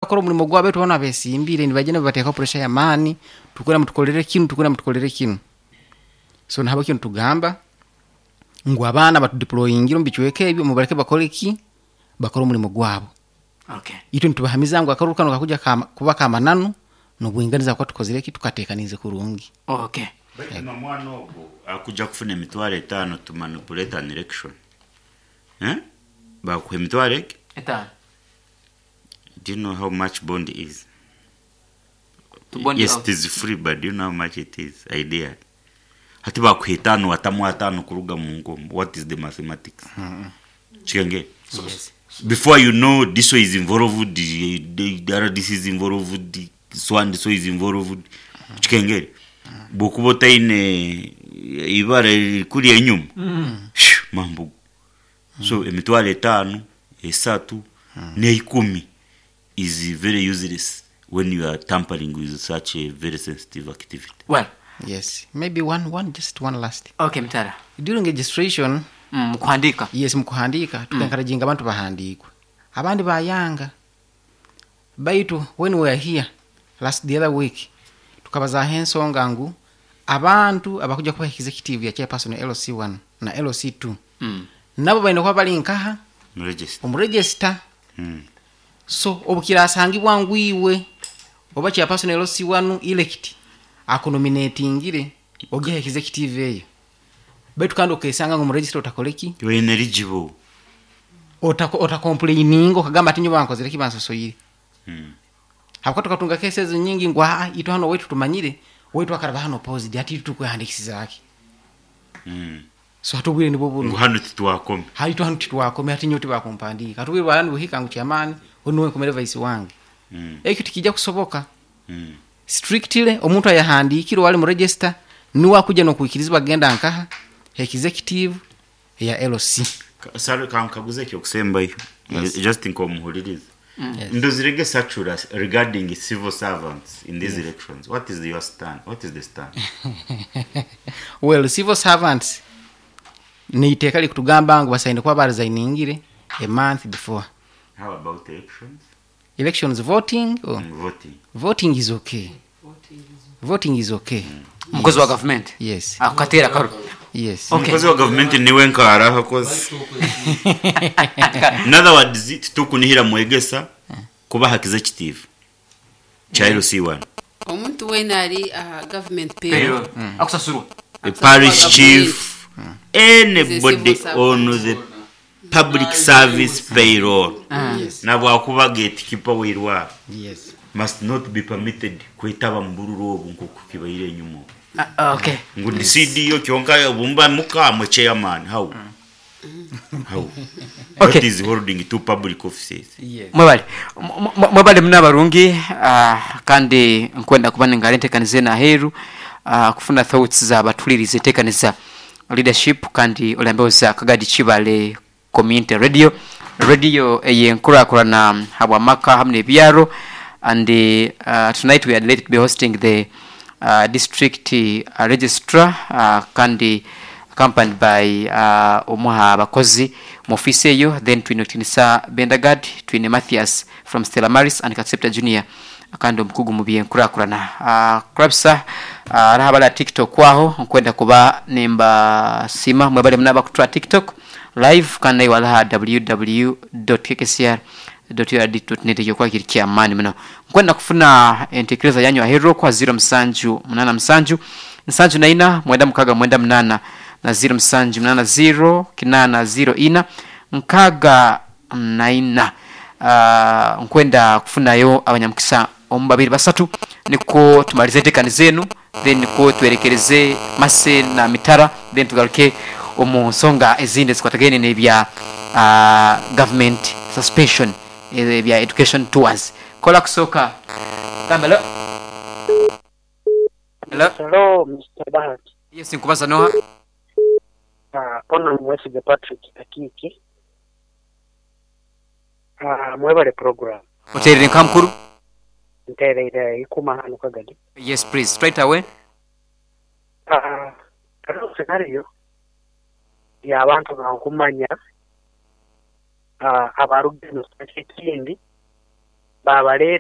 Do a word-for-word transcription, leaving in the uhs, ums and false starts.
Bakora omulimo gwabo, baitu banu abesimbire nibagenda nibateekaho pressure y'amaani, tukura mutukolere kinu, tukura mutukolere kinu. So nahabwekyo nitugamba ngu abaana batudeployingire omu bicweka ebyo, mubaleke bakole ki? Bakore omulimo gwabo. Okay. Itwe nitubahamiza ngu akaruru kanu kakuja kama, kuba kamananu n'obwinganiza, kuba tukozire ki? Tukateekanize kurungi. Okay. Baitu nomwana ogwo akuja kufuna emitwaro etaano to manipulate an election, eh? Bakuha emitwaro egi Etaano. Do you know how much bond is? To bond Yes, out. it is free, but do you know how much it is? Idea hati bakuha etaano, watamu ataano kuruga mu nkomo. What is the mathematics kigenge? Yes. Before you know, this way is involved, the, the, the R D C is involved, so and so is involved. Kikengere bwokuba otaine ibara kuri enyuma, shoo, mambo. So emitwaro etaano, esatu n'eikumi is very useless when you are tampering with such a very sensitive activity. Well, Yes, maybe one one just one last. Okay, Mutara. During registration, Mm, kuhandika. Yes, mukuhandika, tukenkarajinga abantu bahandikwe, abandi bayanga. Baitu when we were here last, the other week, tukabazaho ensonga ngu abantu abakuja kuba executive ya chairperson L C one na L C two Mm. nabo balina kuba bali nkaha? Register. Omu register. Mm. So obukirasangibwa ngu iwe oba chairperson L C one elect akunominatingire ogiha executive eyo, baitu kandi okesanga ngu mu register otakoleki? You are ineligible. Otacomplaininga okagamba ati nyo bankozere ki? Bansosoire. Mm. Habwo tukatunga kesi ezo nyingi ngu aa, itwe hano waitu tumanyire waitu akaraba hano opposed, ati itwe tukwehandikisizaki? Mm. So hatubwire nibwo buno. Ngu hano titwakome. Haitu hano titwakome, ati nyo tibakumpandika, hatubwire bwani buhika ngu chairman onuwe nkomere vice wange. Mm. Ekyo tikijja kusoboka. Mm. Strictly, omuntu ayahandikire wali mu register niwe akuja nokwikirizibwa genda nkaha? Executive ya L C. Ka- Sorry, kankaguze ekyokusembayo. Yes. Just nkomuhuliriza. Yes. Ndozirege circular regarding civil servants in these elections. What is your stand? What is the stand? Well, civil servants niiteeka likutugamba ngu basaine kuba baresigningire a month before. How about elections? Elections, voting or? Mm, voting. Voting is okay, voting is okay. Umukozi wa government. Yes. Akatera karu. Yes. Okay. Omukozi wa gavumenti niwe nkaraho akozi. In other words, titukunihira mwegesa kuba executive kya L C one. Omuntu wena ali aha government payroll. Payroll. Akusasurwa. A parish chief, anybody Civil servant. on the public service payroll, Yes. nabwakuba gatekeeper wirwara, yes must not be permitted kwetaba mu bururu obu nkoku kibaire enyuma. Ah, okay. Ngu ndi C D O kyonka bumba mukamwe chairman, how how Okay. What is holding two public offices? Yes. Mwebale. M- m- mwebale muna abarungi, ah, kandi nkwenda kuba ningara entekaniza naheru, ah, kufuna thoughts za batuliriza entekaniza leadership, kandi olambeoza Kagadi Kibale Community Radio, radio eyenkurakurana habwamaka hamwe n'ebyaro. And uh, tonight we are delighted to be hosting the uh, district uh, registrar, uh, kandi accompanied by uh, omuha abakozi mu ofisi eyo. Then twine Otinisa Bendagard, twine Mathias from Stella Maris and Katsepta Junior, kandi omukugu mu byenkurakurana. uh, kurabisa uh, araha bala TikTok kwaho, nkwenda kuba nemba sima mwebale munaba kutura TikTok live, kandi nayo walaha w w w dot k k c r dot u r d dot net. Ekyo kwa kiri kyamaani muno. Nkwenda kufuna entekereza yanyu ahero kwa zero musanju munana musanju nsanju naina mwenda mukaga mwenda munana na zero musanju munana zero kinana zero ina nkaga naina. uh, nkwenda kufunayo abanyamukisa omu babiri basatu, niko tumalize entekani zenu, then niko twerekereze Mase na Mitara, then tugaruke omu nsonga ezindi zikwatagene n'ebya uh, government suspension, ebya education tours. Kola kusooka gamba hello, hello. Hello, Mister Bahati. Yes, nkubaza noha? Uh, ono Mwesiga Patrick Akiki. Uh, mwebale program. Oterere nka mukuru. Ntereire ikuma hano Kagadi. Yes, please, straight away. Uh, hariho scenario y'abantu bankumanya uh, abarugendo ekindi babaleeta.